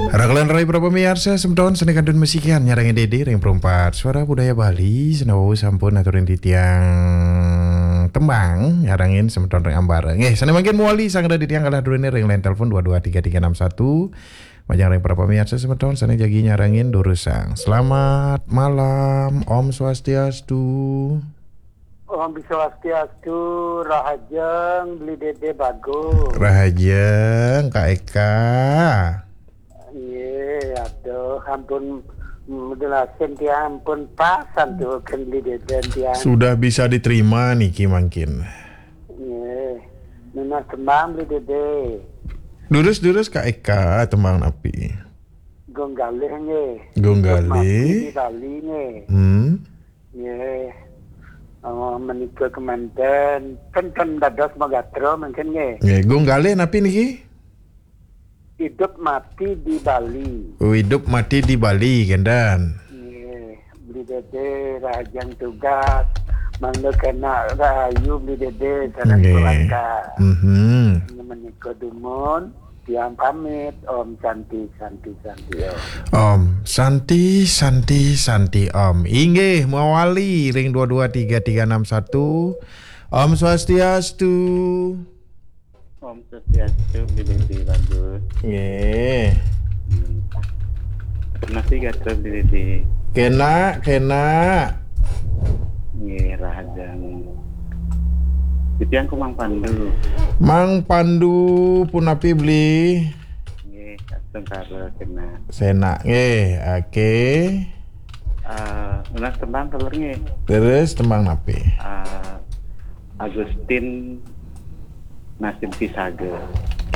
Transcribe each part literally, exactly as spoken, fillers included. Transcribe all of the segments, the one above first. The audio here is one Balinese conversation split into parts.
Raglan rai para pamiarsa semeton, sané kantun masikian nyarengin Dédé ring Perempat Suara Budaya Bali, sanawawu sampun aturin titiang tembang nyarengin semeton ring ambara. Nggih, sané mangkin mawali sang ada titiang kalah durene ring line telepon dua dua tiga tiga enam satu. Majeng ring para pamiarsa semeton sané jagi nyarengin durusang. Selamat malam, Om Swastiastu. Om Swastiastu, rahajeng Beli Dédé Bagus. Rahajeng, Kak Eka. Nggih, aduh, ampun, mm, jelasin tiang ampun pas antuken Beli Dédé tiang. Sudah bisa diterima niki mangkin. Nggih. Nunas tembang Beli Dédé. Durus-durus Kak Eka, tembang napi? Gong Galih nggih. Gong Galih. Mati di Bali nggih. Hmm. Nggih. Oh, menika kemanten, ten, ten dados magatra mungkin nggih. Nggih, Gong Galih napi niki? Hidup mati di Bali. Oh, Hidup Mati di Bali, kenten. Nggih, Beli Dédé rahajeng tugas. Mangda kena rahayu Beli Dédé sareng keluarga. Mhm. Menika dumun, tiang pamit. Om Santi, Santi, Santi, Om. Om Santi, Santi, Santi, Om. Inggih, mawali ring dua dua tiga tiga enam satu. Om Swastiastu. Om Swastiastu, Beli Dédé Bagus. Nggih. Hmm. Masih gatra Beli Dédé. Kena, kena. Nggih, rahajeng. Titiang ku Mang Pandu. Mang Pandu punapi, Beli? Nggih, astungkara kena. Sena, nggih, oke. Eh, nunas tembang kaler nggih. Terus tembang napi? Eh, Agustin Nasin Pisaga.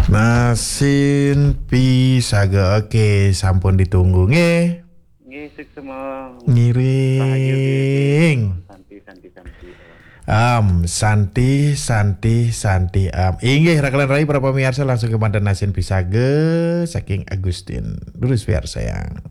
Nasin Pisaga, oke, sampun ditunggu nggih. Nggih, suksma. Ngiring. Rahayu nggih. Santi, santi, santi. Om Santi, Santi, Santi, Om. Inggih, raglan rai para pamiarsa, langsung kemanten Nasin Pisaga saking Agustin. Durus piarsayang.